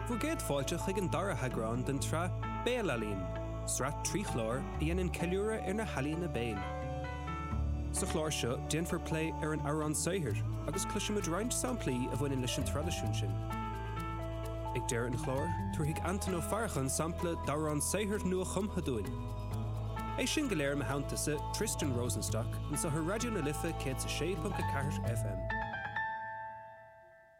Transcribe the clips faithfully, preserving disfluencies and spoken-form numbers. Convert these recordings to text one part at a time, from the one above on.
Bhur gcéad fáilte chuig an dara heagrán den tsraith Béalealaín, sraith trí chlár a dhéanann ceiliúradh ar na healaíona béil. Sa chlár seo déanfar plé ar an amhrán saothair agus cloisfimid roinnt samplaí a bhaineann leis an traidisiún sin. Ag deireadh an chláir, tabharfaidh Antain Ó Faracháin sampla d'amhrán saothair nuachumtha dúinn. É sin go léir i mo theannta-sa Tristan Rosenstock anseo ar Raidió na Life céad a sé ponc a ceathair FM.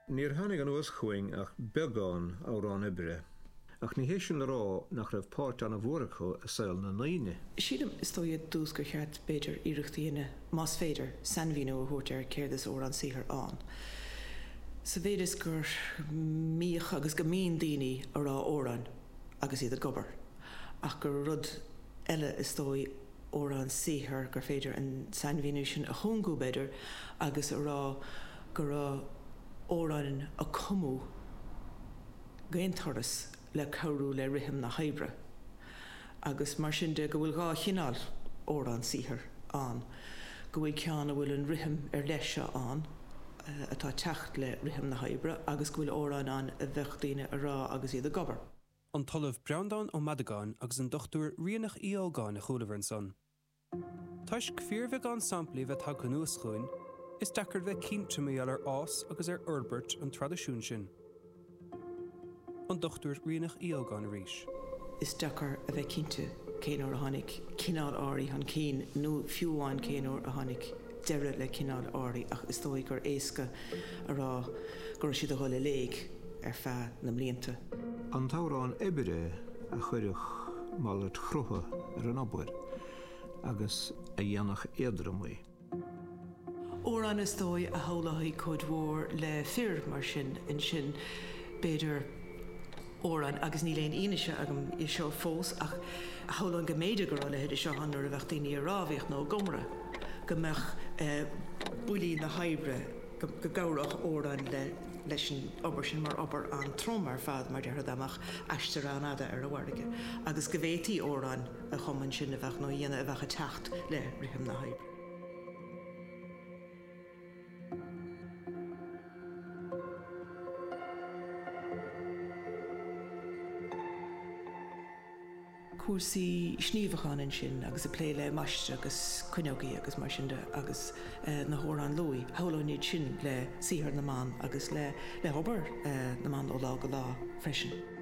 Níor tháinig anuas chugainn ach beagán amhrán oibre, ach ní hé sin le rá nach raibh páirt an-mhór acu i saol na ndaoine. Sílim is dóigh ar dtús gur cheart b'fhéidir iarracht a dhéanamh, más féidir, sainmhíniú a thabhairt ar céard is amhrán saothair ann. Sa mhéid is go mbíodh agus go mbíonn daoine ag rá amhráin agus iad ag obair, ach gur rud eile is dóigh amhrán saothair gur féidir an sainmhíniú sin a chúngú b'fhéidir agus a rá go raibh amhráin a cumadh d'aon turas le cabhrú le rithim na hoibre agus mar sin de go bhfuil dhá chineál amhrán saothair ann, go bhfuil ceann a bhfuil an rithim ar leith seo ann atá ag teacht le rithim na hoibre agus go bhfuil amhráin ann a bheadh daoine a rá agus iad ag obair. An tOllamh Breandán Ó Madagáin agus an Dochtúir Ríonach Uí Ógáin a chualamar ansan. Toisc fíorbheagán samplaí bheith tagtha anuas chugainn, is deacair bheith cinnte mar gheall ar fhás agus ar fhorbairt an traidisiúin sin. An Dochtúir Ríonach Uí Ógáin arís. Is deacair a bheith cinnte cén uair a tháinig cineál áirithe chun cinn nó fiú amháin cén uair a tháinig deireadh le cineál áirithe ach is dóigh gur éasca a rá go raibh siad ag dul i léig ar feadh na mblianta. An t-amhrán oibre a chuirfeadh malairt chrutha ar an obair agus a dhéanfadh éadrom í. Amhrán is dóigh a shamhlófaí cuid mhór le fir mar sin ansin b'fhéidir amhrán agus níl aon fhianaise agam é seo fós ach shamhlóinn go mb'fhéidir go raibh a leithéid seo ann nuair a bheadh daoine ag rámhaíocht nó ag iomramh go mbeadh buillí na hoibre go gcabhródh amhráin le leis an obair sin mar obair an-trom ar fad mar déarfá dá mbeadh aistear an-fhada ar an bhfarraige agus go bhféadfaí amhráin a chumadh ansin a bheadh nó a dhéanamh a bheadh ag teacht le rithim na hoibre. Cúrsaí sníomhacháin ansin agus ag plé le maistreadh agus cuinneogaí agus mar sin de agus na hamhráin luaidhe, shamhlóinn iad sin le saothar na mban agus le le hobair na mban ó lá go lá freisin.